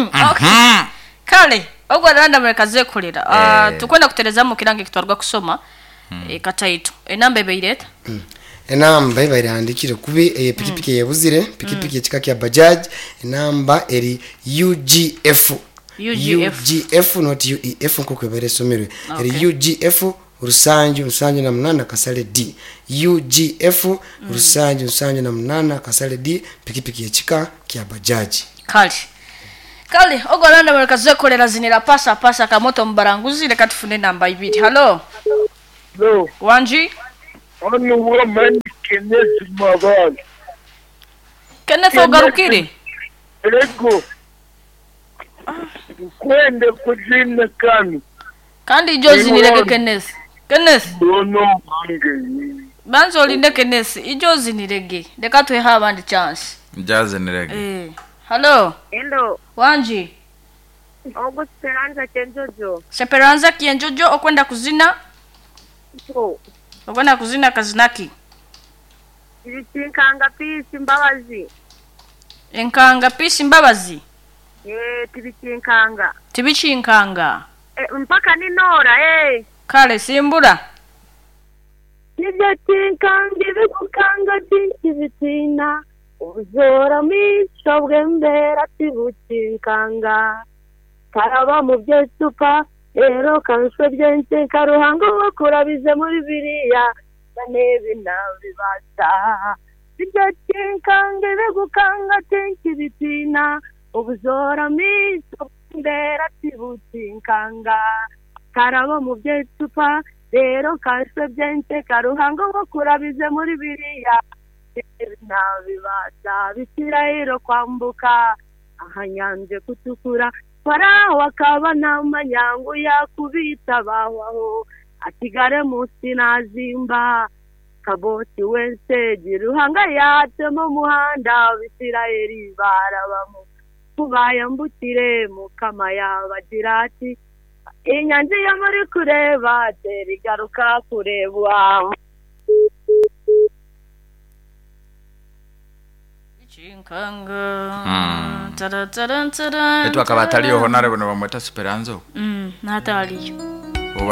Okay. Kale ogwo aranda mureka azekolera. Ah, Eh. Tukwenda kuterezamu kirango ekitwarwa kusoma eh, kataito. Enamba ebaire eta? Enamba ebaire ehandikire kubi eye pikipiki eyebuzire, pikipiki ekika kya Bajaj, enamba eri UGF. UGF. UGF not UEF nkoku ebaire esomerwe. Eri Okay. UGF rusanju nsanju na munana kasale D. UGF rusanju nsanju na munana kasale D, pikipiki ekika kya Bajaj. Kale. Kale ogwo aranda mureka azekolera zinira pasa pasa kamoto mubaranguzi reka tufune enamba ibiri. Hello. Hello, Wanji? hano woman Kenneth Mabali. Kenneth ogarukire? Ego. Kwende kuzina kanu. Kandi ijo zinirege Kenneth. Kenneth. Bono wange. Banza olinde Kenneth, ijo zinirege. Reka tuhe abandi chance. Jazinirege. Eh. Hello. Hello, Wanji. ogu Speranza Kyenjojo. Seperanza Kienjojo okwenda kuzina? So, Okwenda kuzina kazinaki? tibikinkanga Peace Mbabazi. Enkanga Peace Mbabazi. Eh, tibikinkanga. Tibikinkanga. Eh, mpaka ninora eh. Kale simbura. Nibyo kinkanga ibigukanga byinshi bitina. Ubuzora misho bw'embera tibukinkanga. Karaba mu byecupa rero kanswe byenshi karuhango wo kurabize muri biriya banebi nabibasha. Ibyo kinkanga ibigukanga byinshi bitina. Ubuzora misho bw'embera tibukinkanga. Karaba mu byecupa rero kanswe byenshi karuhango wo kurabize muri biriya nabibasha bisirayiro kwambuka ahanyanje kutukura farawo akaba ntamanyangu yakubita bawaho asigare munsi nazimba kaboti wese giruhanga yatema umuhanda abisirayeli barabamo kubayambukire mukama yabagira ati inyanja iyo muri kureba tera igaruka kurebwa. Chinkanga. Mm. Tara tara tara. Etu akaba ataliyo honare bano bamweta Speranzo. Nataliyo.